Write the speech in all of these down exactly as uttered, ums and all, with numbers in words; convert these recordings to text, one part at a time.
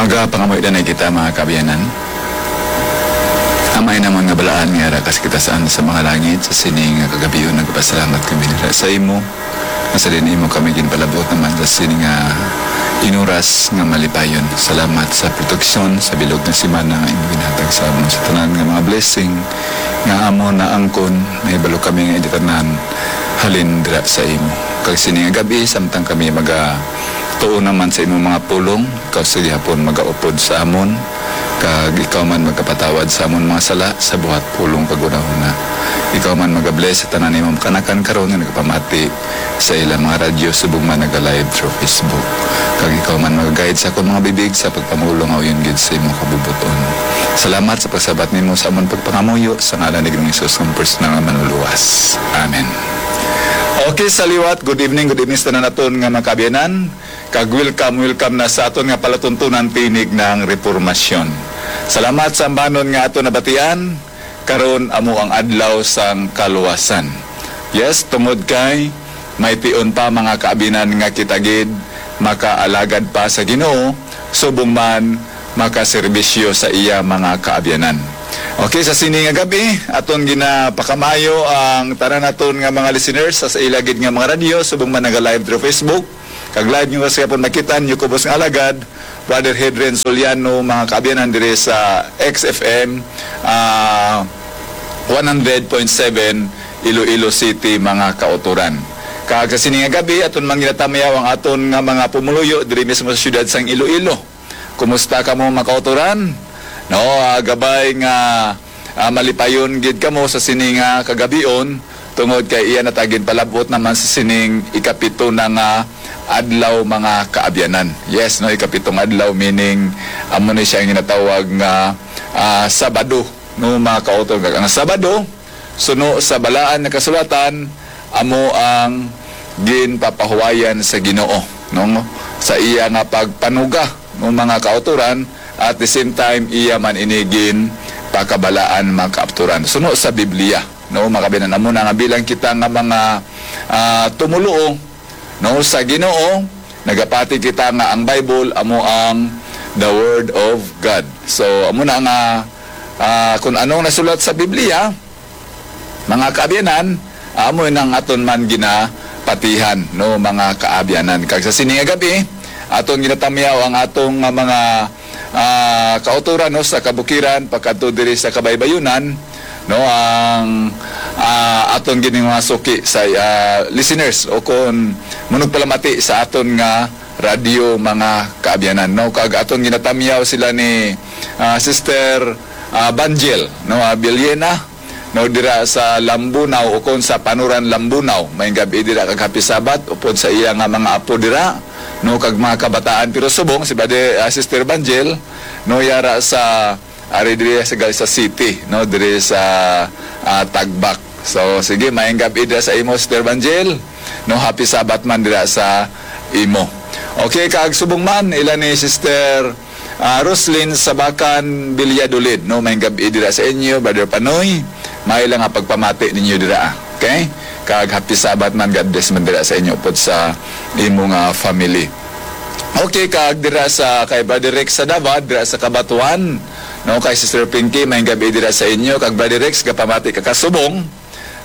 Magapangamuyo na kita, mga kaabyanan. Amay namon nga balaan nga ara ka sa kataas-an sa mga langit, sa sini nga kagabhion nagpasalamat kami dira sa imo, nga sa diin imo kami ginpalabot naman sa sini nga inuras nga malipayon. Salamat sa proteksyon sa bilog nga semana nga imo ginhatag sa amon, sa tanan nga mga blessing nga amon naangkon. May balo kami nga indi tanan halin dira sa imo. Kag sini nga gabi, samtang kami maga tuo naman sa imong mga pulong, ikaw sa gihapon magaupod sa amon, kag ikaw man magapatawad sa amon mga sala sa buhat pulong kag hunahuna. Ikaw man magabless sa tanan imong kanakan karon nga nagapamati sa ilang mga radyo subong man naga-live through Facebook. Kag ikaw man magaguide sa akon mga bibig sa pagpamulong nga uyon gid sa imong kabubuton. Salamat sa pagsabat nimo sa amon pagpangamuyo sa ngalan ni Ginoong Jesus nga personal nga Manluluwas. Amen. Okay, sa liwat, good evening, good evening sa tanan naton nga mga kaabyanan. Kag welcome, welcome na sa aton nga palatuntunan, Tinig ng Repormasyon. Salamat sa ambanon nga aton nabatian. Karon amo ang adlaw sang kaluwasan. Yes, tungod kay may tion pa, mga kaabyanan, nga kita gid makaalagad pa sa Ginoo, subong man makaserbisyo sa iya mga kaabyanan. Okay, sa sini nga gabi, aton ginapakamayo ang tanan naton nga mga listeners sa, sa ila gid nga mga radyo, subong man naga-live through Facebook. Kag live nyo sa gihapon makita ninyo, kubos nga alagad, Brother Hedren Soliano, mga kaabyanan diri sa X F M, ah, one hundred point seven Iloilo City, mga kautoran. Kag sa sini nga gabi, aton man ginatamyaw ang aton nga mga pumuluyo diri mismo sa siyudad sang Iloilo. Kumusta kamo, mga kautoran? No, ah, gabay nga, ah, malipayon gid kamo sa sini nga kagabion, tungod kay iya na ta ginpalabot naman sa sining ikapito na nga adlaw, mga kaabyanan. Yes, no, ikapitong adlaw, meaning amo ni siya ang ginatawag nga, ah, Sabado, no, mga kautoran. Ang Sabado, suno sa Balaan nga Kasulatan, amo ang ginpapahuwayan sa Ginoo, no, sa iya nga pagpanuga, no, mga kautoran, at the same time, iya man ini ginpakabalaan, mga kautoran, suno sa Biblia, no, mga kaabyanan. Amo na nga, bilang kita nga mga, ah, tumoluo, no, sa Ginoo, nagapati kita nga ang Bible amo ang the Word of God. So, amo na nga, ah, kung anong nasulat sa Biblia, mga kaabyanan, amo nang aton man ginapatihan, no, mga kaabyanan. Kag sa sini nga gabi, aton ginatamyaw ang atong nga mga, ah, kautoran, no, sa kabukiran pagkadto diri sa kabaybayunan, no, ang, ah, aton gid nga mga suki sa, ah, listeners o kon manugpalamati sa aton nga radyo, mga kaabyanan, no. Kag aton ginatamyaw sila ni, ah, Sister, ah, Banjel, no, ah, Bilyena, no, dira sa Lambunao o kon sa Panuran, Lambunao. Maayong gab-i dira kag happy Sabbath upod sa iya nga mga apo dira, no, kag mga kabataan. Pero subong si Brother, ah, Sister Banjel, no, yara sa, ari diri sa Galsa City, no, diri sa, ah, Tagbak. So, sige, maayong gab-i dira sa imo, Sister Banjel, no, happy Sabbath man dira sa imo. Okay, kag subong man ila ni Sister, ah, Roslyn Sabakan Villadolid, no, maayong gab-i dira sa inyo, Brother Panoy. Maayo lang nga pagpamati ninyo dira, ah. Okay? Kag happy Sabbath man, God bless man dira sa inyo upod sa imo nga family. Okay, kag dira sa kay Brother Rex sa Davad, dira sa Cabatuan, no, kay Sister Pinky, maayong gab-i dira sa inyo. Kag Brother Rex, gapamati ka kasubong,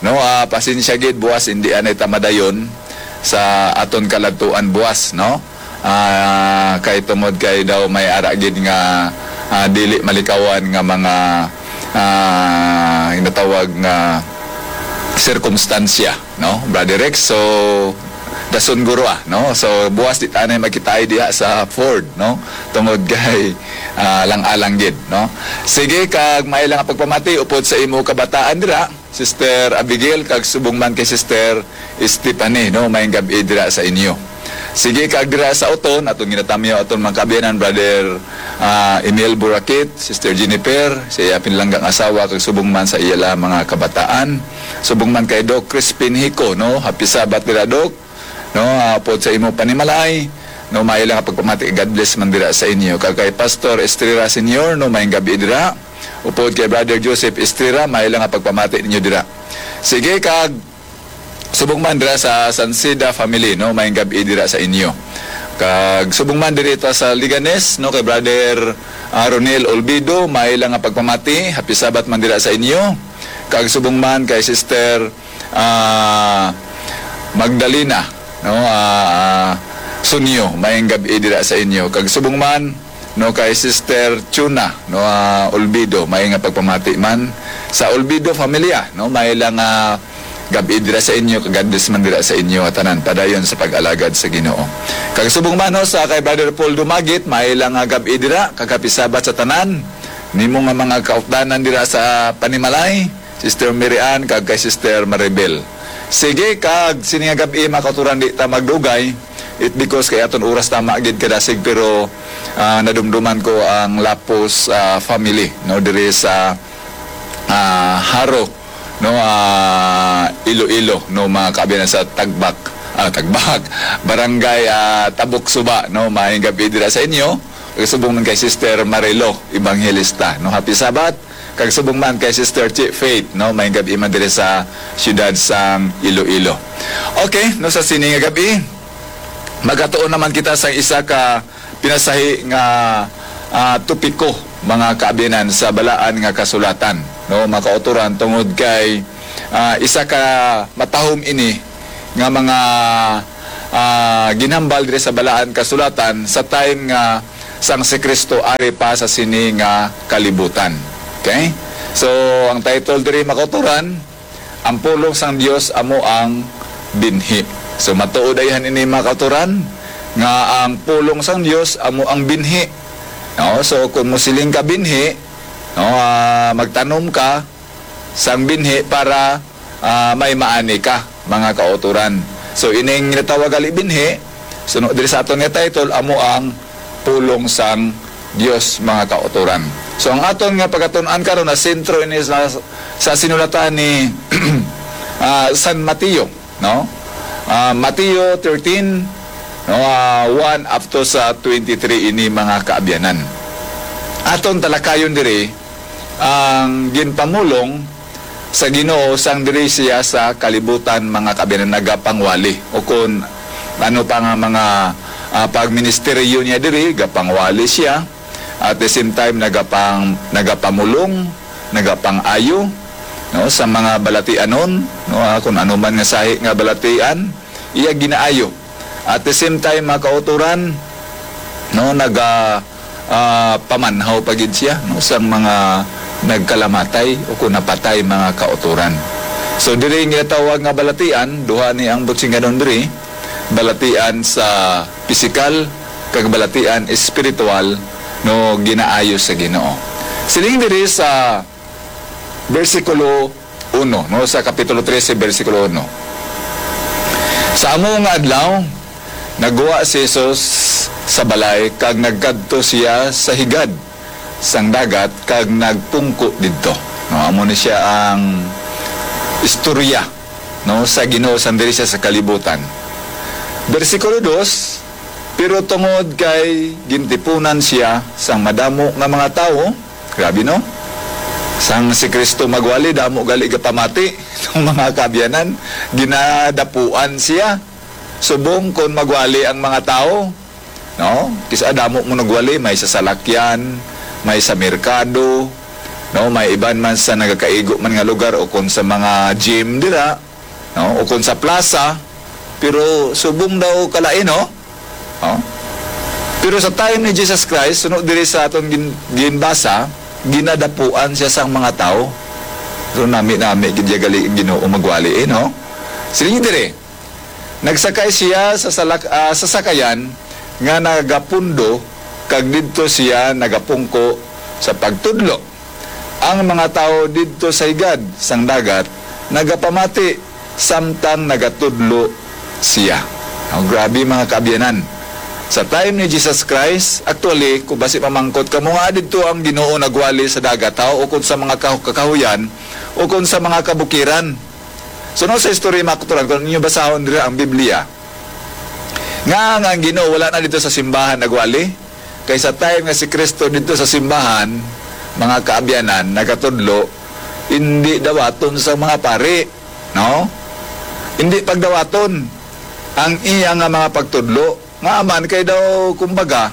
no, ah, pasensya gid, buwas indi anay ta madayon sa aton kaladtuan buwas, no. Ah, kay tungod kay daw may ara gid nga, ah, dili malikawan nga mga, ah, ginatawag nga sirkumstansya, no, Brother Rex. So, dason guro, ah, no. So, buwas di tanay magkitaay diha sa Ford, no, tungod kay, ah, lang-alang gid, no. Sige, kag maayo lang nga pagpamati upod sa imo kabataan dira, Sister Abigail, kag subong man kay Sister Stephanie, no, maayong gab-i dira sa inyo. Sige, kag dira sa Oton, atong ginatamyaw aton mga kaabyanan, Brother, ah, Emil Burakit, Sister Jennifer, sa iya pinalanggang asawa, kag subong man sa iya lang mga kabataan. Subong man kay Doc Crispin Hico, no? Happy Sabbath dira, Doc. No, ah, upod sa imo panimalay, no, maayo lang nga pagpamati, God bless man dira sa inyo. Kag kay Pastor Estrera Senior, no, maayong gab-i dira. Upod kay Brother Joseph Estrera, maayo lang nga pagpamati ninyo dira. Sige, kag subong man dira sa Sanceda family, no, maayong gab-i dira sa inyo. Kag subong man diri ta sa Leganes, no, kay Brother, ah, Ronel Olvido, may lang nga pagpamati, happy Sabbath man dira sa inyo. Kag subong man kay Sister, ah, Magdalena, no, ah, ah, Sunyo, maayong gab-i dira sa inyo. Kag subong man, no, kay Sister Chuna, no, ah, Olvido, may nga pagpamati man sa Olvido familia, no, may lang, ah, gab-i dira sa inyo, kag God bless man dira sa inyo nga tanan, padayon sa pag-alagad sa Ginoo. Kag subong man, no, sa kay Brother Paul Dumagit, may lang nga gab-i dira, kag happy Sabbath sa tanan nimo nga mga kaupdanan dira sa panimalay, Sister Mary Ann, kag kay Sister Maribel. Sige, kag sini nga gab-i, mga kauturan, di ta magdugay, it because kay aton oras tama gid kadasig, pero, ah, nadumduman ko ang Lapos, ah, family, no, diri sa, ah, Jaro, no, ah, Iloilo, no, mga kaabyanan sa Tagbak, ah, Tagbak, Barangay, ah, Tabok Suba, no, maayong gab-i dira sa inyo. Kag subong man kay Sister Marilo Evangelista, no, happy Sabbath. Kag subong man kay Sister Chi Faith, no, maayong gab-i man diri sa siyudad sang Iloilo. Okay, no, sa sini nga gab-i, magatuon naman kita sa isa ka pinasahi nga, ah, topiko, mga kaabyanan, sa Balaan nga Kasulatan, no, mga kauturan, tungod kay, ah, isa ka matahom ini nga mga, ah, ginhambal diri sa Balaan Kasulatan sa time nga sang si Cristo ari pa sa sini nga kalibutan. Okay? So, ang title diri, mga kauturan, Ang Pulong sang Dios Amo ang Binhi. So, matuod ayhan ini, mga kauturan, nga ang pulong sang Dios amo ang binhi. No? So, kung musiling ka binhi, no, ah, magtanom ka sang binhi para, ah, may maani ka, mga kauturan. So, ining ginatawag gali binhi, suno diri sa aton nga title, amo ang pulong sang Dios, mga kauturan. So, ang aton nga pagatun-an karon na sentro ini sa, sa sinulatan ni, ah, San Mateo, no? Ah, Mateo thirteen, no, ah, one up to sa twenty-three ini, mga kaabyanan. Aton talakayon diri ang ginpamulong sa Ginoo sang diri siya sa kalibutan, mga kaabyanan, nagapangwali, o kun ano pa nga mga, ah, pagministeryo niya diri, gapangwali siya. At the same time, nagapang-, nagapamulong, nagapang-ayo, no, sa mga balatianon, no, ah, kun ano man nga sahi nga balatian, iya ginaayo. At the same time, mga kauturan, no, naga, ah, pamanhaw pa gid siya, no, sang mga nagkalamatay o kun napatay, mga kauturan. So, diri ginatawag nga balatian, duha ni ang butsinganon diri, balatian sa pisikal kag balatian espiritual, no, ginaayo sa Ginoo. Siling diri sa bersikulo uno, no, sa kapitulo trese, bersikulo uno. Sa amo nga adlaw, nagwa si Jesus sa balay kag nagkadto siya sa higad sang dagat kag nagpungko didto. No, amo ni siya ang istorya, no, sa Ginoo sang diri siya sa kalibutan. Bersikulo dos, pero tungod kay gintipunan siya sang madamo nga mga tawo, grabe, no? Sang si Cristo magwali, damo gali gapamati ng mga kaabyanan, ginadapuan siya. Subong kon magwali ang mga tawo, no? Kis-a damo mo nagwali, may sa salakyan, may sa merkado, no? May iban man sa nagakaigo man nga lugar o kon sa mga gym dira, no? O kon sa plaza, pero subong daw kalain, no? No? Pero sa time ni Jesus Christ, suno diri sa aton gin-, ginbasa, ginadapuan siya sang mga tawo. So, nami-nami gid ya gali ang Ginoo magwali, eh, no? Siling diri, nagsakay siya sa salak-, ah, sa sakayan nga nagapundo, kag didto siya nagapungko sa pagtudlo. Ang mga tawo didto sa higad sang dagat nagapamati samtang nagatudlo siya. Oh, grabe, mga kaabyanan. Sa time ni Jesus Christ, actually, kung basi mamangkot kamo nga didto ang Ginoo nagwali sa dagat, ha, o kung sa mga kahu-, kakahuyan, o kung sa mga kabukiran. So, no, sa istorya, mga kauturan, kung ninyo basahon dira ang Biblia, nga, nga ang Ginoo wala na didto sa simbahan nagwali, kay sa time nga si Kristo didto sa simbahan, mga kaabyanan, nagatudlo, hindi dawaton sa mga pari, no? Hindi pagdawaton ang iya nga mga pagtudlo. Nga man kay daw, kumbaga,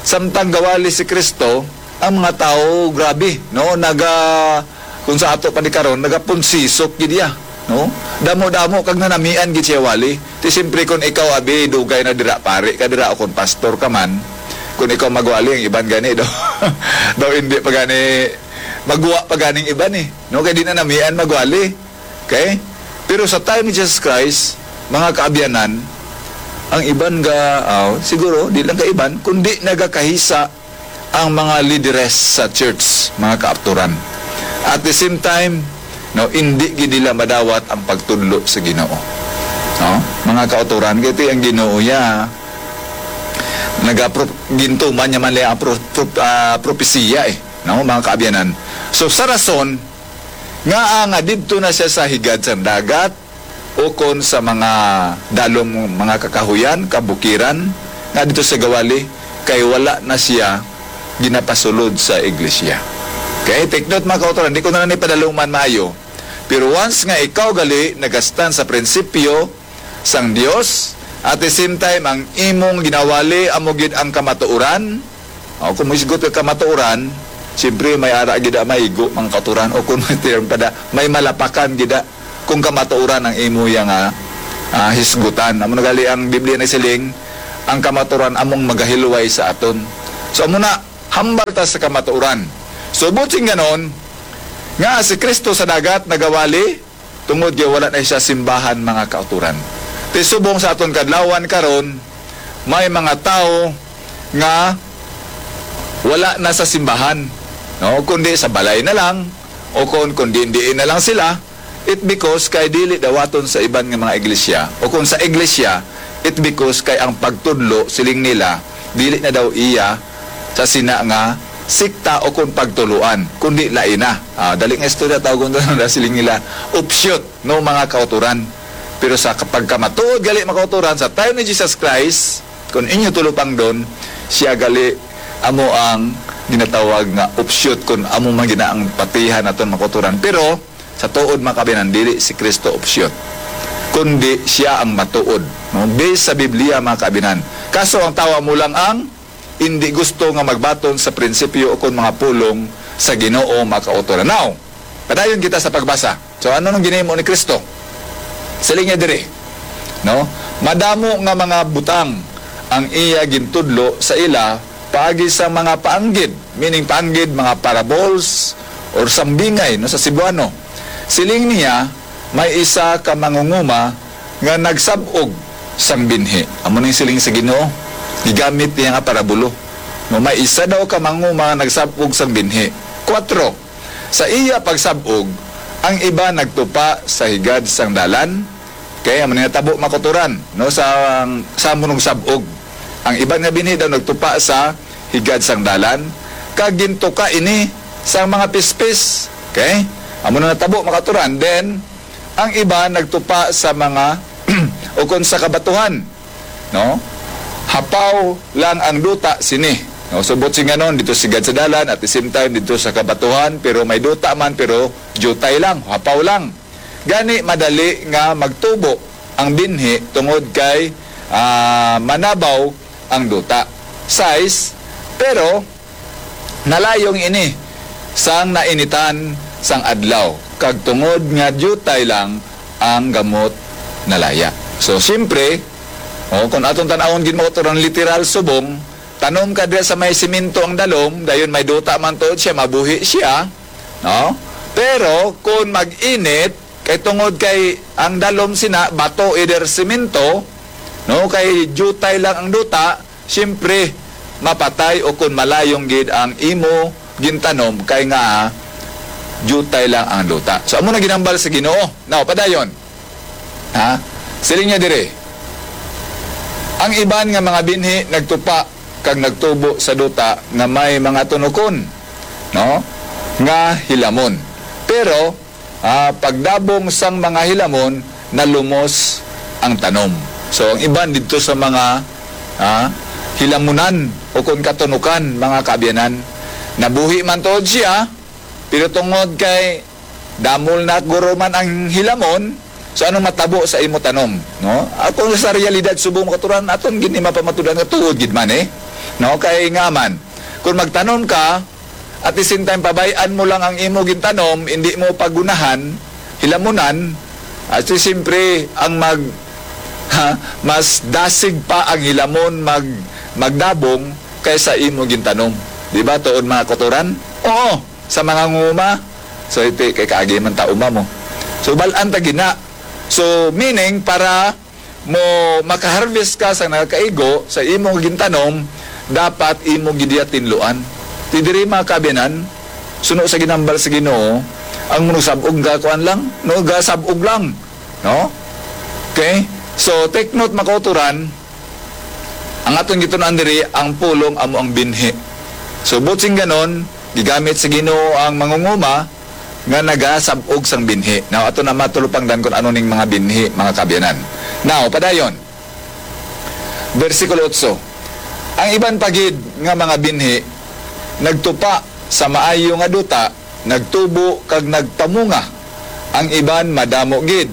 samtang gawali si Kristo, ang mga tawo, grabe, no? Naga, kung sa ato pa ni karon, nagapunsisok gid iya, no? Damo-damo kag nanamian gid siya wali. Ti siyempre, kung ikaw, abi, dugay na dira, pare ka dira, o kung pastor ka man, kung ikaw magwali, ang iban gani daw, daw hindi pa gani, magwa pa ganing iban eh, no? Kay di na namian magwali. Okay? Pero sa time ni Jesus Christ, mga kaabyanan, ang iban ga, ah, siguro, di lang kaiban, kundi nagakahisa ang mga lideres sa church, mga kaapturan. At the same time, no, hindi gid nila madawat ang pagtudlo sa Ginoo. No? Mga kauturan, kay ti ang Ginoo ya, nagapro-, gintuman niya man liya ang pro-, pro-, ah, propesiya eh, no, mga kaabyanan. So, sa rason, nga, ah, nga didto na siya sa higad sang dagat, ukon sa mga dalom, mga kakahuyan, kabukiran, nga didto sa gawali, kay wala na siya ginapasulod sa iglesia. Okay? Take note, mga kauturan, di ko na lang ipadaluman maayo. Pero once nga ikaw gali nagastan sa prinsipyo sang Dios, at the same time, ang imong ginawali amo gid ang kamatuoran, o, kung mohisgot ka kamatuoran, siyempre may ara gid ang maigo, mga kauturan, o kung may term pa da, may malapakan gid, ah, kung kamatuoran ang imo ya nga, ah, hisgutan. Amo na gali ang Biblia nagsiling, ang kamatuoran among magahilway sa aton. So, amo na, hambal ta sa kamatuoran. So, buot sing ganon, nga si Kristo sa dagat nagawali, tungod kay wala na siya simbahan, mga kauturan. Ti subong sa aton kadlawan karon, may mga tawo nga wala na sa simbahan, no? Kundi sa balay na lang, o kon, kon diin-diin na lang sila, it because kay dili dawaton sa iban nga mga iglesia, o kon sa iglesia, it because kay ang pagtudlo, siling nila, dili na daw iya sa sina nga sikta o kon pagtuluan, kundi lain na. Ah, dali nga istorya, tawgon na lang siling nila, offshoot, no, mga kauturan. Pero sa pagkamatuod gali, mga kauturan, sa time ni Jesus Christ, kung inyo tulupangdon, siya gali amo ang ginatawag nga offshoot, kung amo man gina ang patihan naton, mga kauturan. Pero sa tuod, mga kabinan, dili si Kristo offshoot, kundi siya ang matuod, no? Based sa Biblia, mga kabinan. Kaso ang tawa mo lang ang hindi gusto nga magbaton sa prinsipyo o kon mga pulong sa Ginoo, mga kauturan. Now, padayon kita sa pagbasa. So, ano nang ginahimo ni Kristo? Siling niya diri, no? Madamo nga mga butang ang iya gintudlo sa ila paagi sa mga paanggid, meaning paanggid, mga parables or sambingay, no, sa Cebuano. Siling niya, may isa ka mangunguma nga nagsab-og sang binhi. Amo ning siling sa Ginoo, gigamit niya nga parabulo. No, may isa daw ka mangunguma nga nagsab-og sang binhi. Kuwatro, sa iya pagsab-og, ang iba nagtupa sa higad sang dalan. Kay amo ni natabo, mga kauturan, no, sa, sa amo nung sab-og. Ang iban nga binhi daw nagtupa sa higad sang dalan, kag gintuka ini sang mga pispis. Okay? Amo na natabo, mga kauturan. Then, ang iba nagtupa sa mga o kon sa kabatuhan, no? Hapaw lang ang duta sini. No, subot sing ganon, dito sigad sa dalan, at the same time, dito sa kabatuhan, pero may duta man, pero jutay lang, hapaw lang. Gani, madali nga magtubo ang binhi tungod kay, ah, manabaw ang duta. Sais, pero nalayong ini sang nainitan sang adlaw, kag tungod nga diutay lang ang gamot nalaya. So, siyempre, oh, kung atong tan-awon gid, mga kauturan, literal subong, tanom ka diha sa may simento ang dalom, dayon may duta man tuod siya, mabuhi siya, no? Pero kung mag-init, kay tungod kay ang dalom sina bato, either simento, no, kay diutay lang ang duta, siyempre, mapatay o kun malayong gid ang imo gintanom kay nga diutay lang ang duta. So, amo na ginambal sa Ginoo. Now, padayon. Ha? Siling niya dire, ang iban nga mga binhi nagtupa kag nagtubo sa duta nga may mga tunokon, no? Nga hilamon. Pero, ah, pagdabong sang mga hilamon, nalumos ang tanom. So, ang iban didto sa mga, ah, hilamunan o kon katunukan, mga kaabyanan, nabuhi man tuod siya, pero tungod kay damol na guro man ang hilamon, So, anong matabo sa imo tanom, no? Ako, sa realidad, subong, mga kautoran, aton gid ni mapamatudan nga tuod gid man, eh. No? Kay nga man, kung magtanom ka, at the same time, pabay-an mo lang ang imo gintanom, hindi mo pagunahan, hilamunan, at si siyempre, ang mag-, ha, mas dasig pa ang hilamon mag-, magdabong kaysa imo gintanom. Di ba, tuod, mga kautoran? Oo, sa mga nguma. So, iti kay kaagi man ta uma mo. So, bal-an ta gina. So, meaning, para mo makaharvest ka sa nagakaigo sa imo nga gintanom, dapat imo gid iya tinluan. Ti diri, mga kaabyanan, suno sa ginhambal sa Ginoo, ang manusab-og gakuan lang, no, gasab-og lang, no? Okay? So, take note, mga kautoran, ang aton gitun-an diri, ang pulong amo ang binhi. So, buot sing ganon, gigamit sa Ginoo ang mangunguma nga nagasab-og sang binhi. Now, ato na matulupangdan kung ano ning mga binhi, mga kaabyanan. Now, padayon, bersikulo otso, ang iban pa gid nga mga binhi nagtupa sa maayo nga duta, nagtubo kag nagpamunga. Ang iban madamo gid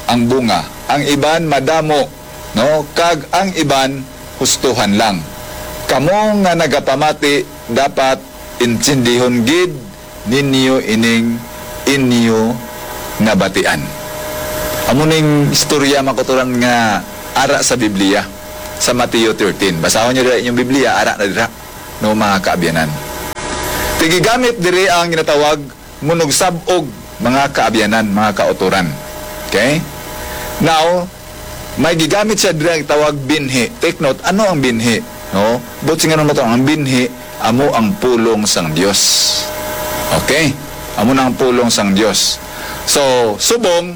ang bunga, ang iban madamo, no, kag ang iban hustuhan lang. Kamo nga nagapamati, dapat intindihon gid ninyo ining inyo nabatian. Amo ning istorya, mga kautoran, nga ara sa Biblia, sa Mateo thirteen. Basahon niyo dira inyong Biblia, ara na dira, no, mga kaabyanan. Ti gigamit diri ang ginatawag munugsab-og, mga kaabyanan, mga kautoran. Okay? Now, may gigamit siya diri nga tawag binhi. Take note, ano ang binhi? No? Buot sing ganon, mga kautoran, ang binhi amo ang pulong sang Dios. Okay? Amo na ang pulong sang Dios. So, subong,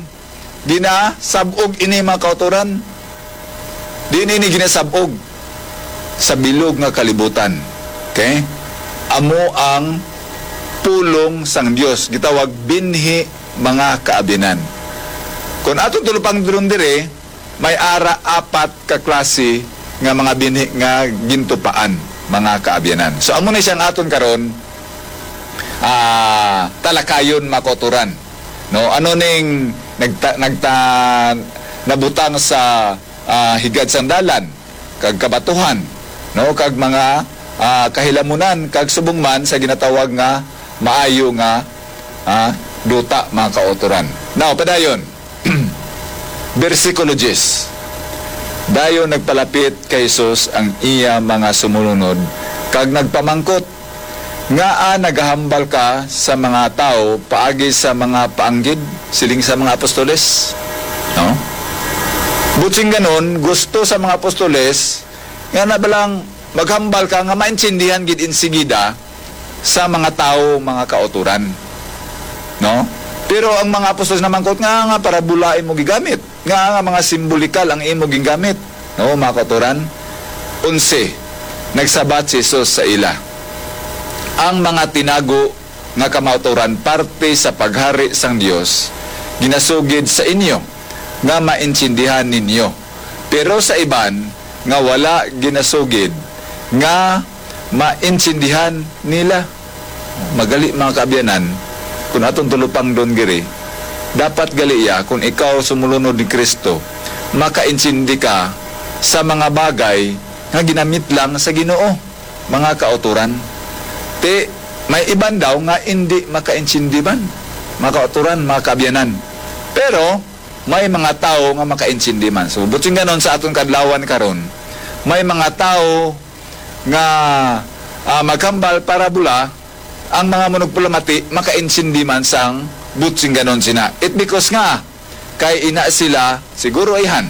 ginasab-og ini, mga kautoran. Diin ini ginasab-og? Sa bilog nga kalibutan. Okay? Amo ang pulong sang Dios, gitawag binhi, mga kaabyanan. Kung aton tulupangdon diri, may ara apat ka klase nga mga binhi nga gintupaan, mga kaabyanan. So, amo ni siyang aton karon, ah, talakayon, mga kautoran. No, ano ning nagta-, nagta-, nabutang sa, ah, higad sang dalan, kag kabatuhan, no, kag mga, ah, kahilamunan, kag subong man sa ginatawag nga maayo nga, ah, duta, mga kautoran. Now, padayon, bersikulo diyes. Dayon nagpalapit kay Jesus ang iya mga sumulunod kag nagpamangkot, "Ngaa nagahambal ka sa mga tawo paagi sa mga paanggid?" siling sa mga apostoles. No? Buot sing ganon, gusto sa mga apostoles nga na balang maghambal ka nga maintindihan gid insigida sa mga tawo, mga kautoran. No? Pero ang mga apostoles namangkot, "Ngaa nga parabola imo gigamit? Ngaa nga mga simbolikal ang imo gingamit?" No, mga kautoran? Onse, nagsabat si Jesus sa ila, "Ang mga tinago nga kamatuoran parte sa paghari sang Dios ginasugid sa inyo nga maintindihan ninyo, pero sa iban nga wala ginasugid nga maintindihan nila." Magali, mga kaabyanan, kung aton tulupangdon diri, dapat gali iya, kung ikaw sumulunod ni Cristo, makaintindi ka sa mga bagay nga ginamit lang sa Ginoo, mga kautoran. Ti, may iban daw nga indi makaintindi man, mga kautoran, mga kaabyanan. Pero, may mga tawo nga makaintindi man. So, buot sing ganon sa aton kadlawan karon, may mga tawo nga, ah, maghambal parabola, ang mga manugpalamati makaintindi man sang buot sing ganon sina. It because nga, kay ina sila, siguro ayhan,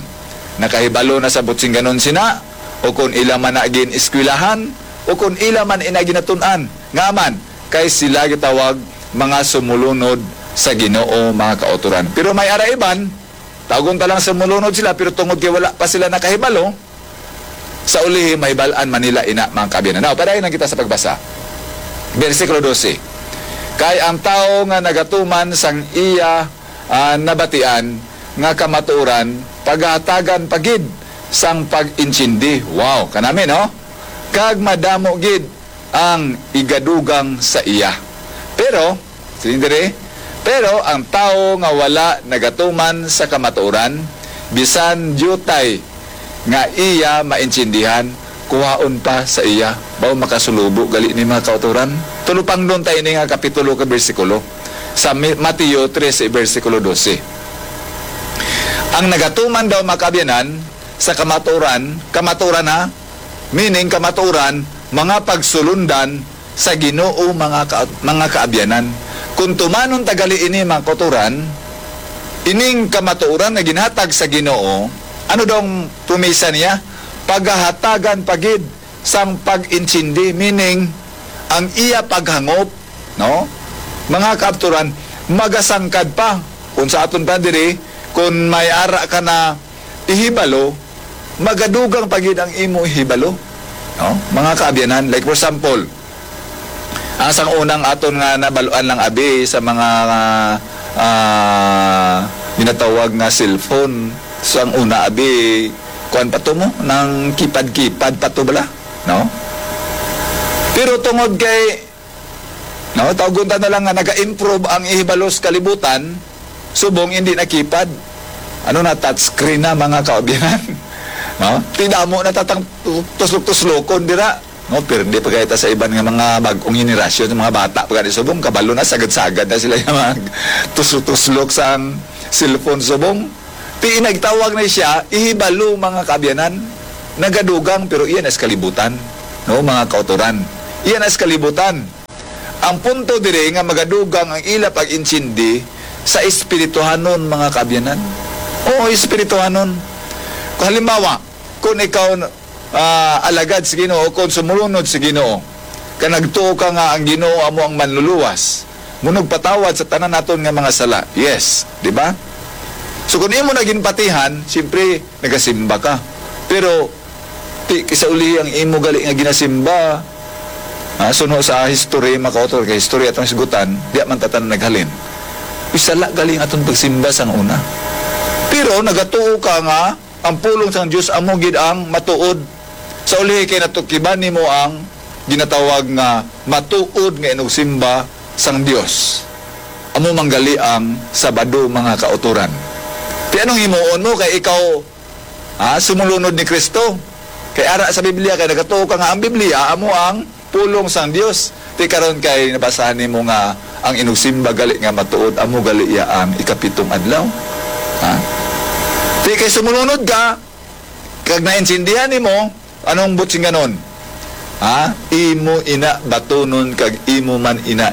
nakahibalo na sa buot sing ganon sina, o kon ila man na gin-eskwelahan, o kon ila man ina ginatun-an. Nga man, kay sila gitawag mga sumulunod sa Ginoo, mga kautoran. Pero may ara iban, tawgon ta lang sumulunod sila, pero tungod kay wala pa sila nakahibalo, sa ulihi, mahibal-an man nila ina, mga kaabyanan. Now, padayon lang kita sa pagbasa. Bersikulo dose, "Kay ang tawo nga nagatuman sang iya, ah, nabatian nga kamatuoran, pagahatagan pa gid sang pag-intindi." Wow, kanami, no? "Kag madamo gid ang igadugang sa iya." Pero, siling diri, Pero ang tawo nga wala nagatuman sa kamatuoran, bisan diutay nga iya maintindihan, kuhaon pa sa iya. Baw makasulubo gali ni, mga kautoran? Tulupangnon ta ini nga kapitulo ka bersikulo sa Mi-, Mateo trese, bersikulo dose. Ang nagatuman daw, mga kaabyanan, sa kamatuoran, kamatuoran ha, meaning kamatuoran, mga pagsulundan sa Ginoo, mga ka-, mga kaabyanan. Kung tumanon ta gali ini, mga kautoran, ining kamatuoran nga ginhatag sa Ginoo, ano daw ang promesa niya? Pagahatagan pa gid sang pag-intindi, meaning ang iya paghangop, no? Mga kaabturan, magasangkad pa. Kung sa aton pa diri, kung may ara ka na ihibalo, magadugang pa gid ang imo ihibalo, no? Mga kaabyanan, like for example, ang sang unang aton nga nabaluan lang abi sa mga, ah, ginatawag nga cellphone. So ang una abi, kuan pa to mo, nang kipad-kipad pa to bala, no? Pero tungod kay, no, tawgon ta na lang nga naga-improve ang ihibalos kalibutan, subong hindi na kipad. Ano na, touchscreen na, mga kaabyanan. No? Ti damo na ta tang tu-, tuslok-tuslokon dira. No, pero di pa kaya ta sa iban nga mga bag-ong henerasyon, mga bata pa gani subong, kabalo na, sagad-sagad na sila yung mga tuslo-tuslok sang cellphone subong. Ti nagtawag na siya, ihibalo, mga kaabyanan. Nagadugang, pero iyan as kalibutan. No, mga kautoran. Iyan as kalibutan. Ang punto diri nga magadugang ang ila pag-intindi sa espirituhanon, mga kaabyanan. Oo, espirituhanon. Kung halimbawa, kung ikaw, ah, alagad sa Ginoo, kung sumulunod sa Ginoo, ka nagtuo ka nga ang Ginoo amo ang manluluwas, mo nagpatawad sa tanan naton nga mga sala. Yes, di ba? So kung imo na ginpatihan, siyempre, nagasimba ka. Pero, ti, kisa uli ang imo gali nga ginasimba, ah, suno sa history, makautor kay history atong hisgutan, di man tatan naghalin. Isala gali ang atong pagsimba sang una. Pero nagatuo ka nga ang pulong sang Dios amo gid ang matuod. Sa ulihi kay natukiban nimo ang ginatawag nga matuod nga inugsimba sang Dios. Amo man gali ang Sabado, mga kautoran. Ti anong himuon mo kay ikaw, ha, sumulunod ni Kristo? Kay ara sa Biblia, kay nagatuo ka nga ang Biblia amo ang pulong sang Dios. Ti karon kay nabasahan nimo nga ang inugsimba gali nga matuod, amo gali iya ang ikapitong adlaw. Ha? Ti kay sumulunod ka, kag naintindihan nimo, anong butsinganon? Ha? Imo ina batunon kag imo man ina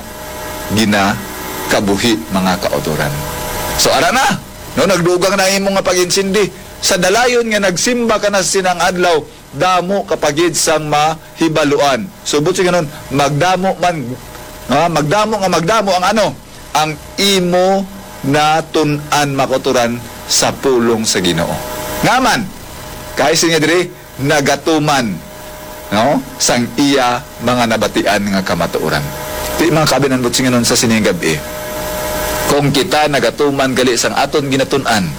ginakabuhi, mga kautoran. So, ara na, no, nagdugang na imo nga pag-intindi. Sa dalayon nga nagsimba ka na sa sinang adlaw, damo ka pa gid sang mahibaluan. So, butsinganon, magdamo man, ha, magdamo nga magdamo ang ano, ang imo natun-an, mga kautoran, sa pulong sa Ginoo. Nga man, kay siya diri, nagatuman, no, sang iya mga nabatian nga kamatuoran. Ti, mga kaabyanan, butsinganon, sa sining gab-i, kung kita nagatuman gali sang aton ginatun-an,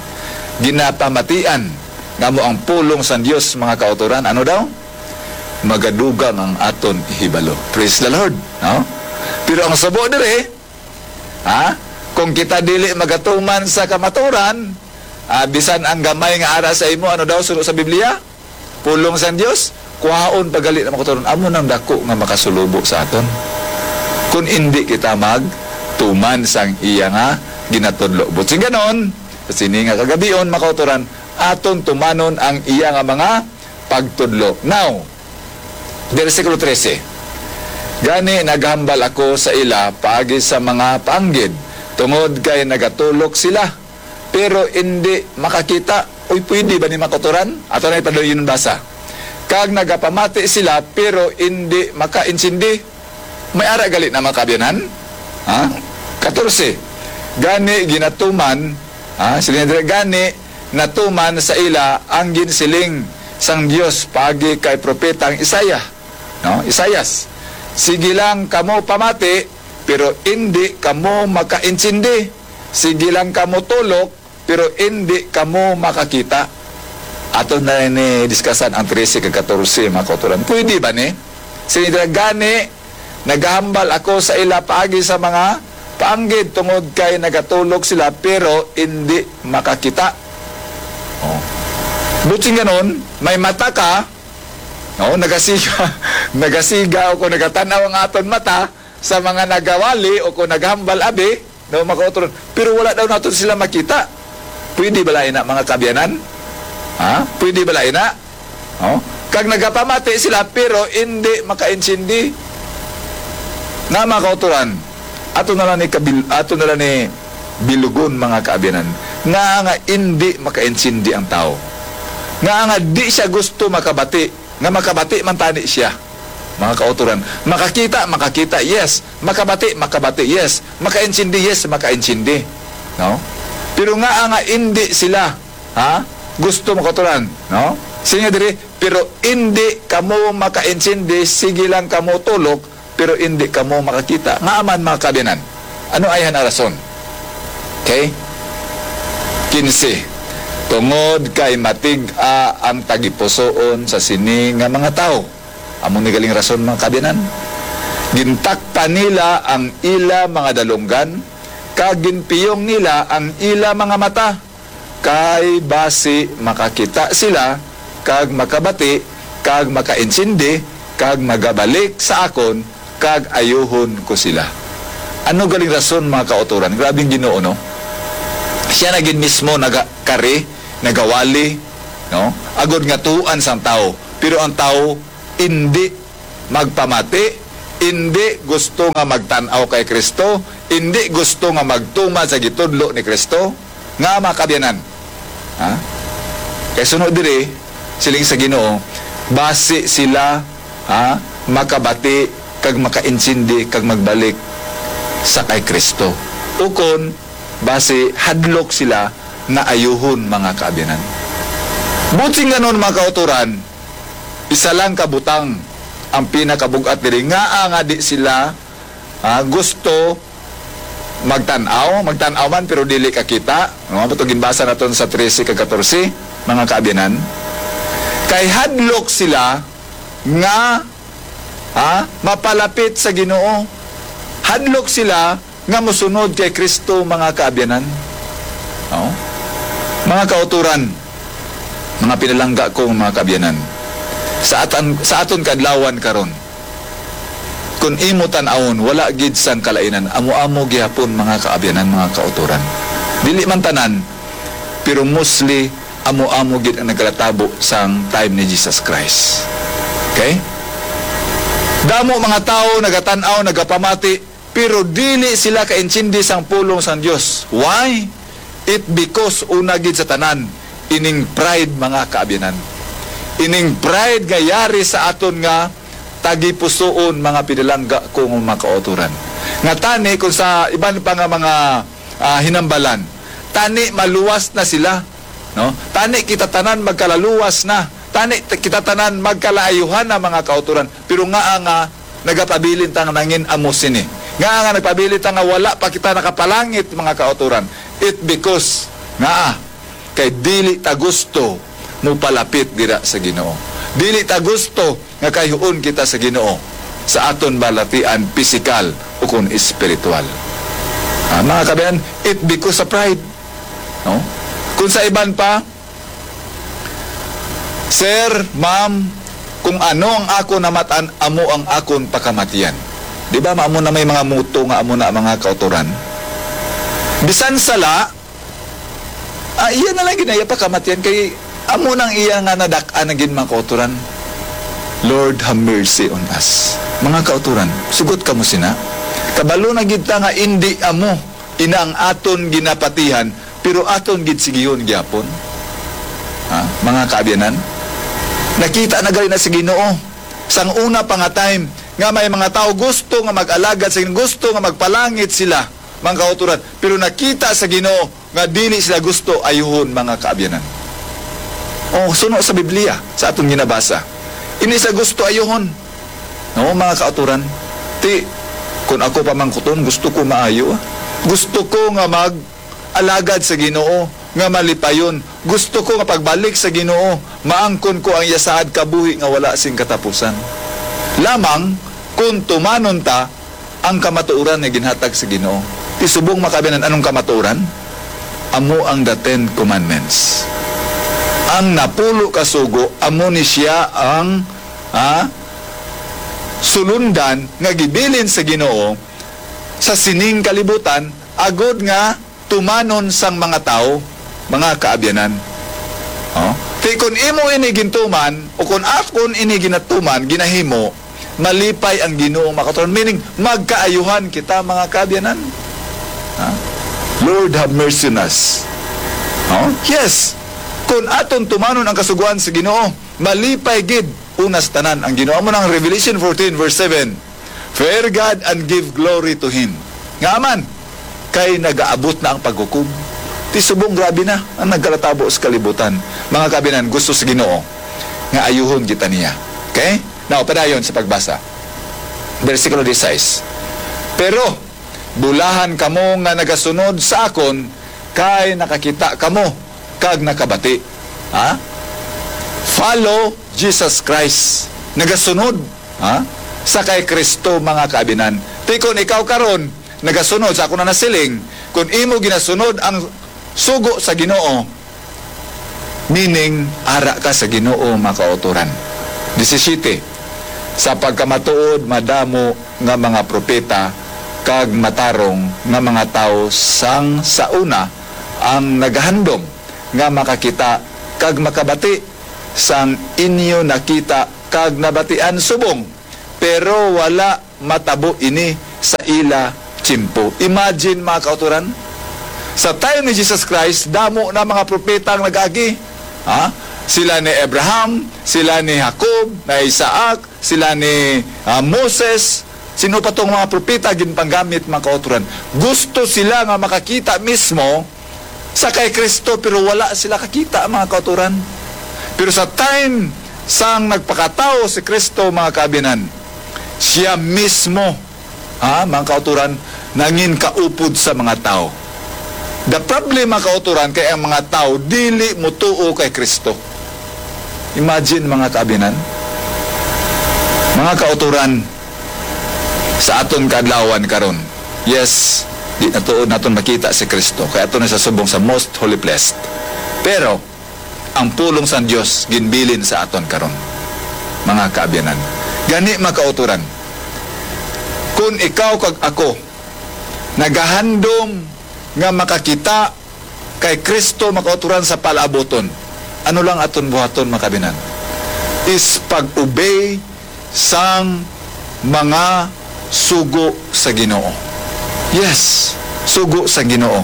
ginapamatian, nga amo ang pulong sang Dios, mga kautoran, ano daw? Magadugang ang aton ihibalo. Praise the Lord, no? Pero ang subo diri, ha? Kung kita dili magatuman sa kamaturan, ah, bisan ang gamay nga ara sa imo, ano daw suno sa Biblia? Pulong sang Dios, kuhaon pa gali na makaturon. Amo nang dako nga makasulubo sa aton. Kung indi kita magtuman sang iya nga ginatudlo. Butsinganon, sa sini nga kagabion, makautoran, aton tumanon ang iya nga mga pagtudlo. Now, bersikulo trese, "Gani naghambal ako sa ila paagi sa mga paanggid, tungod kay nagatulok sila, pero indi makakita." Uy, pwede ba ni, makautoran? Ato na ipadayon basa. "Kag nagapamati sila, pero indi makaintindi." May ara gali na, mga kaabyanan? Ha? Katorse, "Gani ginatuman," ha? Siling dira, "Gani natuman sa ila ang ginsiling sang Dios paagi kay propetang Isaiah." No? Isaias, "Sige lang kamo pamati, pero indi kamo makaintindi. Sige lang kamo tulok, pero indi kamo makakita." Ato na ni diskasan ang trese kag katorse, mga kautoran. Pwede ba ni? Siling dira, "Gani, nagahambal ako sa ila paagi sa mga paanggid tungod kay nagatulok sila, pero indi makakita. Oh. Buot silingon, may mata ka, no? Nagasiga, nagasiga o kung nagatan-aw ang aton mata sa mga nagawali o kung naghambal abi, no, mga kauturan. Pero wala daw naton sila makita. Pwede bala ina, mga kaabyanan? Ha? Pwede bala ina? Oh? Kag nagapamati sila, pero indi makaintindi. Nga, mga kauturan, ato na lang ni kabil-, ato na lang ni bilugon, mga kaabyanan, nga, nga indi makaintindi ang tawo. Nga, nga di siya gusto makabati, nga makabati man tani siya, mga kauturan. Makakita, makakita, yes. Makabati, makabati, yes. Makaintindi, yes, makaintindi. No? Pero nga, nga indi sila, ha? Gusto, mga kauturan, no? Siling diri, pero indi kamo makaintindi, sige lang kamo tulok, pero indi kamo makakita. Ngaa man, mga kaabyanan? Ano ayhan ang rason? Okay? Kinse. Tungod kay matig-a ang tagipusoon sa sini nga mga tawo. Amo ni galing rason, mga kaabyanan. Gintakpan nila ang ila mga dalunggan, kag ginpiyong nila ang ila mga mata, kay basi makakita sila, kag makabati, kag makaintindi, kag magabalik sa akon, kag ayuhon ko sila. Ano galing rason, mga kauturan? Grabe ang Ginoo, no? Siya na gid mismo nagakari, nagawali, no? Agod nga tuohan sang tawo. Pero ang tawo indi magpamati, indi gusto nga magtan-aw kay Kristo, indi gusto nga magtuman sa gitudlo ni Kristo. Nga, mga kaabyanan, ha? Kay sunod diri, siling sa Ginoo, basi sila, ha, makabati kag makaintindi kag magbalik sa kay Kristo. Ukon, basi hadlok sila nga ayuhon, mga kaabyanan. Buot silingon, mga kauturan, isa lang ka butang ang pinakabug-at diri, ngaa nga di sila, ah, gusto magtan-aw, magtan-aw man pero dili kakita. Ano ba to ginbasa naton sa trese kag katorse, mga kaabyanan? Kay hadlok sila nga, ha, mapalapit sa Ginoo. Hadlok sila nga mosunod kay Kristo, mga kaabyanan. No? Mga kauturan, mga pinalangga ko, mga kaabyanan, sa atan-, sa aton kaadlawan karon, kun imo tan-awon, wala gid sang kalainan, amo-amo gihapon, mga kaabyanan, mga kauturan. Dili man tanan, pero mostly amo-amo gid ang nagkatabo sang time ni Jesus Christ. Okay? Damo mga tawo nagatan-aw, nagapamati, pero dili sila kaintindi sang pulong sang Dios. Why? It because una gid sa tanan, ining pride, mga kaabyanan. Ining pride nga yari sa aton nga tagipusoon, mga pinalangga ko nga mga kauturan. Nga tani, kung sa iban pa nga mga, ah, hinambalan, tani maluwas na sila, no? Tani kita tanan magkalaluwas na. Tani t-, kita tanan magkalaayuhan na, mga kauturan. Pero ngaa nga nagapabilin ta nga nangin-amo sini? Ngaa nga nagpabilin ta nga wala pa kita nakapalangit, mga kauturan? It because, ngaa, kay dili ta gusto mupalapit dira sa Ginoo. Dili ta gusto nga kayhuon kita sa Ginoo sa aton balatian pisikal o kon espiritual. Ah, mga kaabyanan, it because sa pride. No? Kung sa iban pa, "Sir, ma'am, kung ano ang akon namatan, amo ang akon pakamatian." Di ba, amo na may mga muto nga amo na, mga kauturan? Bisan sala, ah, iya na lang ginaya pakamatian kay amo nang iya nga nadak-an na gid, mga kauturan. Lord, have mercy on us. Mga kauturan, sugot kamo sina. Kabalo na gid ta nga indi amo ina ang aton ginapatihan, pero aton gid sigihon gyapon. Ha? Mga kaabyanan, nakita na gali na sa Ginoo sang una pa nga time nga may mga tawo gusto nga mag-alagad sa Ginoo, gusto nga magpalangit sila, mga kauturan, pero nakita sa Ginoo nga dili sila gusto ayuhon, mga kaabyanan. O, suno sa Biblia, sa aton ginabasa, indi sila gusto ayuhon. No, mga kauturan, ti, kun ako pamangkuton, gusto ko maayo, ah. Gusto ko nga mag-alagad sa Ginoo nga malipayon. Gusto ko nga pagbalik sa Ginoo, maangkon ko ang iya saad kabuhi nga wala sing katapusan. Lamang kun tumanon ta ang kamatuoran nga ginhatag sa Ginoo. Ti subong, mga kaabyanan, anong kamatuoran? Amo ang the Ten Commandments. Ang napulo ka sugo, amo ni siya ang, ha, sulundan nga gibilin sa Ginoo sa sining kalibutan, agod nga tumanon sang mga tawo, mga kaabyanan. Oh? Ti kon imo ini gintuman, o kon akon ini ginatuman, ginahimo, malipay ang Ginoo, mga kautoran. Meaning, magkaayuhan kita, mga kaabyanan. Ha? Lord, have mercy on us. Oh? Yes. Kung aton tumanon ang kasugoan sa Ginoo, malipay gid una sa tanan ang Ginoo. Amo nang Revelation fourteen verse seven, "Fear God and give glory to Him." Nga man, kay nagaabot na ang paghukom. Ti subong, grabe na ang nagkalatabo sa kalibutan. Mga kaabyanan, gusto sa Ginoo nga ayuhon kita niya. Okay? Now, padayon sa pagbasa. Bersikulo dieciséis, "Pero bulahan kamo nga nagasunod sa akon, kay nakakita kamo kag nakabati." Ha? Follow Jesus Christ. Nagasunod, ha? Sa kay Kristo, mga kaabyanan. Ti kon ikaw karon nagasunod sa akon na nasiling, kung imo ginasunod ang sugo sa Ginoo, meaning, ara ka sa Ginoo, mga kautoran. Disisiyete, "Sa pagkamatuod, madamo nga mga propeta kag matarong nga mga tawo sang sa una ang nagahandom nga makakita kag makabati sang inyo nakita kag nabatian subong, pero wala matabo ini sa ila tiyempo." Imagine, mga kautoran, sa time ni Jesus Christ, damo na mga propeta ang nag-agi. Ha? Sila ni Abraham, sila ni Jacob, ni Isaac, sila ni, ah, Moses, sino pa tong mga propeta ginpanggamit, mga kautoran. Gusto sila nga makakita mismo sa kay Kristo, pero wala sila kakita, mga kautoran. Pero sa time sang nagpakatawo si Kristo, mga kaabyanan, siya mismo, ha, mga kautoran, nangin kaupod sa mga tawo. The problem, mga kautoran, kay ang mga tawo dili motuo kay Kristo. Imagine, mga kaabyanan, mga kautoran, sa aton kaadlawan karon. Yes, di na tuod naton makita si Kristo, kay ato na sa subong sa most holy place. Pero ang pulong sang Dios ginbilin sa aton karon, mga kaabyanan. Gani, mga kautoran, kun ikaw kag ako nagahandom nga makakita kay Kristo, mga kautoran, sa palaabuton, ano lang aton buhaton, mga kaabyanan? Is pag-obey sang mga sugo sa Ginoo. Yes, sugo sa Ginoo.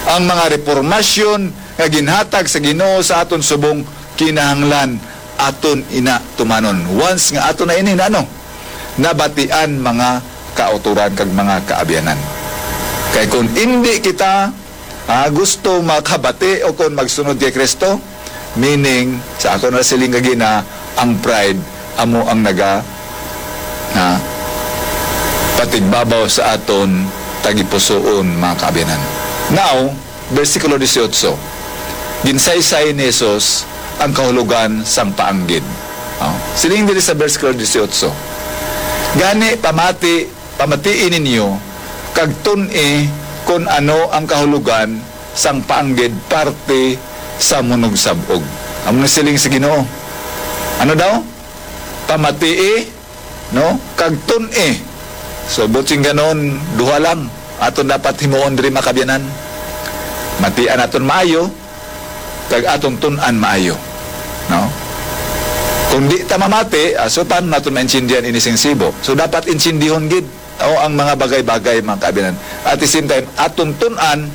Ang mga repormasyon nga ginhatag sa Ginoo sa aton subong, kinahanglan aton ina tumanon. Once nga aton na ini na, ano, nabatian, mga kautoran kag mga kaabyanan. Kay kung indi kita, ah, gusto makabati o kon magsunod kay Kristo, meaning, sa ako na siling kagina, ang pride amo ang naga, ah, patigbabaw sa aton tagipusoon, mga kaabyanan. Now, bersikulo dieciocho, ginsaysay ni Jesus ang kahulogan sang paanggid. Oh, siling diri sa bersikulo dieciocho, "Gani, pamati, pamatii ninyo, kag tun-i kon ano ang kahulogan sang paanggid parte sa munugsab-og." Amo na siling sa Ginoo. Ano daw? Pamatii, no? Kag tun-i. So, buot silingon, duha lang aton dapat himuon diri, mga kaabyanan. Matian naton maayo, kag aton tun-an maayo, no? Kung di ta mamati, ah, so paano naton maintindihan ini sing sibo? So, dapat intindihon gid, o, ang mga bagay-bagay, mga kaabyanan. At the same time, aton tun-an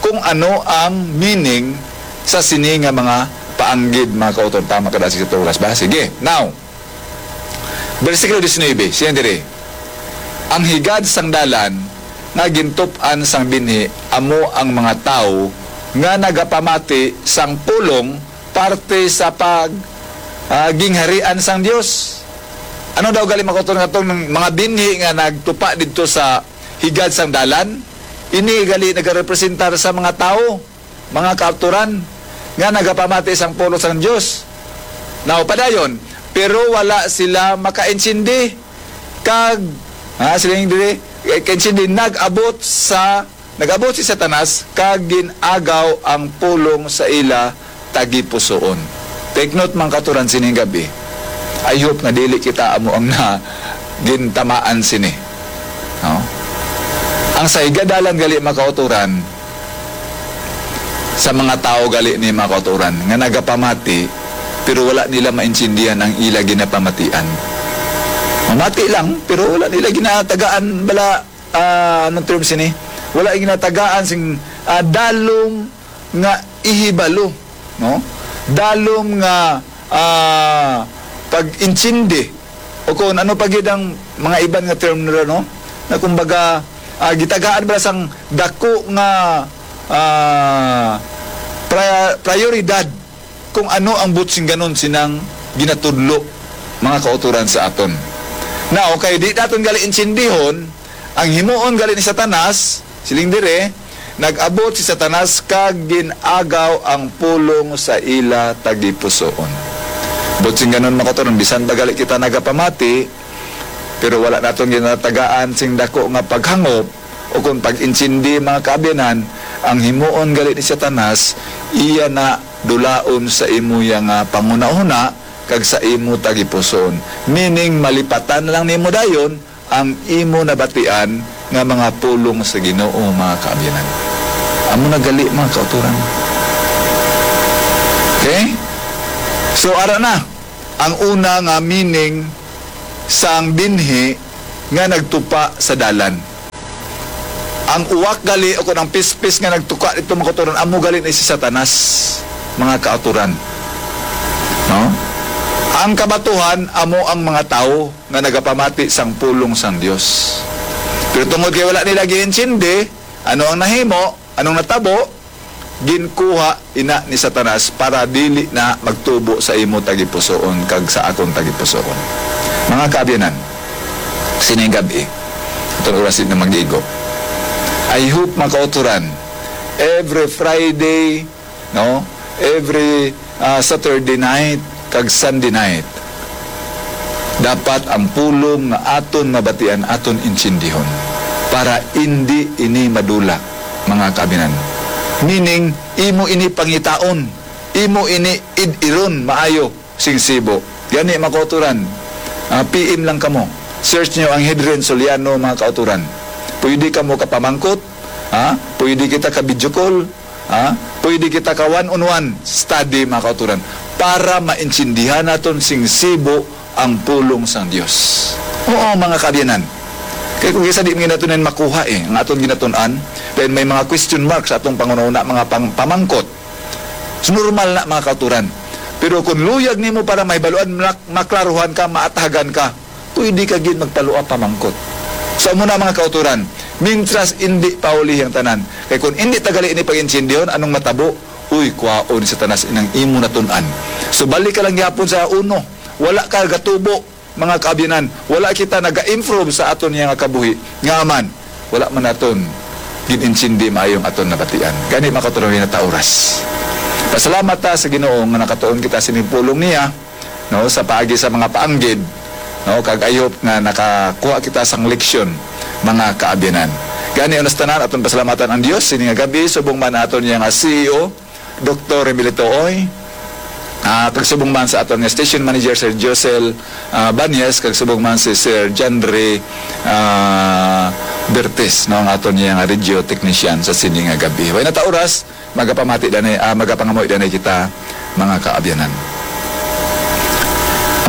kung ano ang meaning sa sini nga mga paanggid, mga kautoran. Tama ka, dasi sa oras ba? Sige. Now, bersikulo diecinuebe, siya diri, "Ang higad sang dalan nga gintup-an sang binhi amo ang mga tawo nga nagapamati sang pulong parte sa pag, ah, gingharian sang Dios." Ano daw gali, mga kautoran, nga tong mga binhi nga nagtupa didto sa higad sang dalan? Ini gali nagarepresentar sa mga tawo, mga kautoran, nga nagapamati sang pulong sang Dios. Now, padayon, "Pero wala sila makaintindi, kag," ha, siling diri, eh, kaintindi, "nag-abot sa nag-abot si Satanas kag gin-agaw ang pulong sa ila tagipusoon. Take note, mga kauturan, sining gab-i. I hope nga dili kita amo ang na gintamaan sini. No? Ang sa higadalan gali, mga kauturan, sa mga tawo gali ni, mga kauturan, nga nagapamati, pero wala nila maintindihan ang ila ginapamatian. Mamati lang, pero wala nila ginatagaan bala, ah, anong term sini? Wala ginatagaan sing, ah, dalom nga ihibalo, no? Dalom nga, ah, pag-intindi, o kung ano pa gid ang mga iban nga term nila, no? Na kumbaga, ah, gitagaan ba sang dako nga, ah, pri-, prioridad kung ano ang buot sing ganon sinang ginatudlo, mga kauturan, sa aton. Now, kay di naton gali intindihon, ang himuon gali ni Satanas, siling dire, nag-abot si Satanas kag gin-agaw ang pulong sa ila tagipusoon. Buot sing ganon, mga kauturan, bisan pa gali kita nagapamati, pero wala naton ginatagaan sing dako nga paghangop, o kon pag-intindi, mga kaabyanan, ang himuon gali ni Satanas, iya na dulaon sa imo ya nga panghunahuna kag sa imo tagipusoon. Meaning, malipatan lang nimo dayon ang imo nabatian nga mga pulong sa Ginoo, mga kaabyanan. Amo na gali, mga kauturan. Okay? So, ara na ang una nga meaning sang binhi nga nagtupa sa dalan. Ang uwak gali, o kon ang pispis nga nagtupa didto, mga kauturan, amo gali ni si Satanas, mga kauturan. No? Ang kabatuhan amo ang mga tawo nga nagapamati sang pulong sang Dios. Pero tungod kay wala nila giintindi ano ang nahimo, anong natabo, ginkuha ina ni Satanas para dili na magtubo sa imo tagipusoon kag sa akon tagipusoon. Mga kaabyanan, sining gab-i, aton oras na mag-igo. I hope, mga kauturan, every Friday, no, every, ah, Saturday night kag Sunday night, dapat ang pulong nga aton mabatian aton intindihon para indi ini madula, mga kaabyanan. Meaning, imo ini pangitaon, imo ini id-iron maayo sing sibo. Gani, mga kauturan, ah, P M lang kamo. Search nyo ang Hedren Soliano, mga kauturan. Pwede kamo kapamangkot, ha? Pwede kita ka video call, ha? Pwede kita ka one-on-one study, mga kauturan, para maintindihan naton sing sibo ang pulong sang Dios. Oo, mga kaabyanan. Kay kung isa di man naton yan makuha, eh, ang aton ginatun-an, then may mga question mark sa atong panghunahuna, mga pang-, pamangkot. So, normal na, mga kauturan. Pero kung luyag nimo para mahibaluan, mak-, maklaruhan ka, maatagan ka, pwede ka gid magpaluap pamangkot. So, amo na, mga kauturan, mintras indi pa uli ang tanan. Kay kung indi ta gali ini pag-intindihon, anong matabo? Uy, kwaon ni Satanas inang imo natun-an. So, balik ka lang gyapon sa uno. Wala ka gatubo, mga kaabyanan. Wala kita naga-improve sa aton nga kabuhi. Nga man, wala man naton gin-intindi maayo ang aton nabatian. Gani, mga kauturan, na ta oras. Pasalamat ta sa Ginoo nga nakatuon kita sining pulong niya, no, sa paagi sa mga paanggid, no, kag I hope nga nakakuha kita sang leksyon, mga kaabyanan. Gani, una sa tanan, aton pasalamatan ang Dios sini nga gab-i, subong man aton niya nga C E O, Doktor Remilito Oy, ah, kag subong man sa aton nga station manager, Sir Josel, ah, Banyes, kag subong man si Sir Janry, ah, Bertes, no, ang aton niya nga radio technician sa sini nga gab-i. Way na ta oras, magapamati danay, ah, magapangamuy danay kita, mga kaabyanan.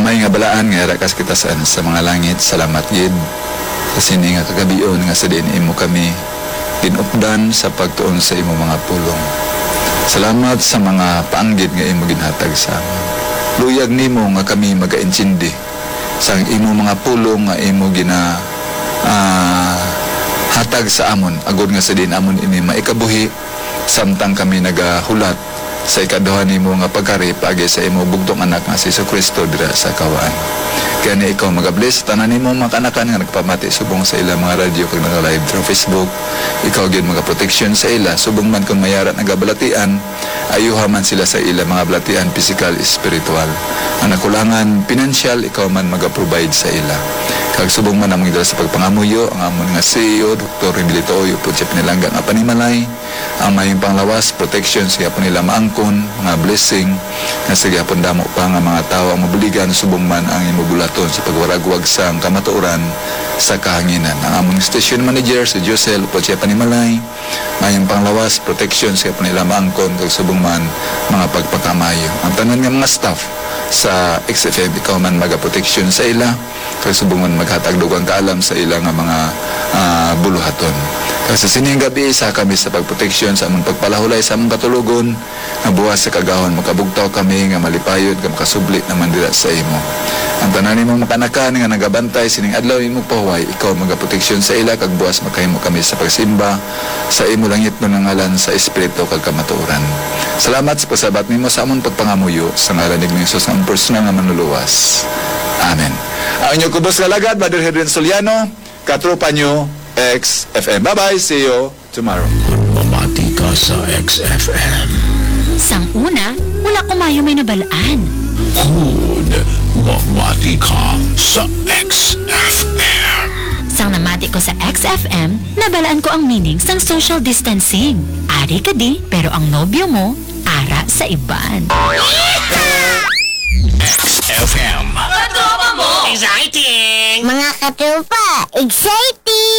Amay nga balaan nga yara ka kita sa, sa mga langit, salamat gid sa sini nga kagab-ion nga sa diin imo kami ginupdan sa pagtuon sa imo mga pulong. Salamat sa mga paanggid nga imo ginhatag sa amon. Luyag nimo nga kami magaintindi sang imo mga pulong nga imo gina, ah, hatag sa amon, agod nga sa diin amon ini maikabuhi samtang kami nagahulat sa ikaduha nimo nga pagkari paagi sa imo bugtong anak nga si Jesu-Cristo dira sa kawaan. Gani ikaw magabless sa tanan nimo mga kaanakan nga nagpamati subong sa ilang mga radyo kag naka-live through Facebook. Ikaw gyud magaproteksyon sa ila subong man kon may ara nagabalatian, ayuha man sila sa ila mga balatian pisikal, espiritual. Ang nakulangan pinansyal, ikaw man magaprovide sa ila. Kag subong man among idala sa pagpangamuyo ang amon nga C E O, Doktor Remilito Oy, upod siya pinalangga nga panimalay, ang mayong panglawas, protection sa gihapon nila maangkon, mga blessing, nga sa gihapon damo pa nga mga tawo ang mabuligan, subong man ang imo bulaton sa pagwaragwag sang kamatuoran sa kahanginan. Ang amon station manager, si Josel, upod siya panimalay, mayong panglawas, protection sa gihapon nila maangkon, kag subong man mga pagpakamaayo. Ang tanan nga mga staff sa X F M, ikaw man magaproteksyon sa ila, kag subong man maghatag dugang kaalam sa ila nga mga, ah, buluhaton. Kag sa sining gabi, isa kami sa pagproteksyon sa among pagpalahulay sa among katulogon, nga buwas sa kagahon makabugtaw kami nga malipayon kag makasubli naman dira sa imo. Ang tanan nimong makanakan nga nagabantay sining adlaw imo pahuway, ikaw magaproteksyon sa ila, kag buwas makahimo kami sa pagsimba sa imo langitnon nga ngalan sa espiritu kag kamatuoran. Salamat sa pagsabat nimo sa amon pagpangamuyo, sa ngalan ni Jesus nga amon personal nga manluluwas. Amen. Ang inyo kubos nga lagad, Brother Hedwin Soliano, katropa nyo, X F M. Bye-bye, see you tomorrow. Kon mamati ka sa X F M. Sang una, wala ko mayo may nabalaan. Kon mamati ka sa X F M. Sang namati ko sa X F M, nabalaan ko ang meaning sang social distancing. Ari ka di, pero ang nobyo mo, ara sa iban. X F M. Katropa mo! Exciting! Mga katropa, exciting!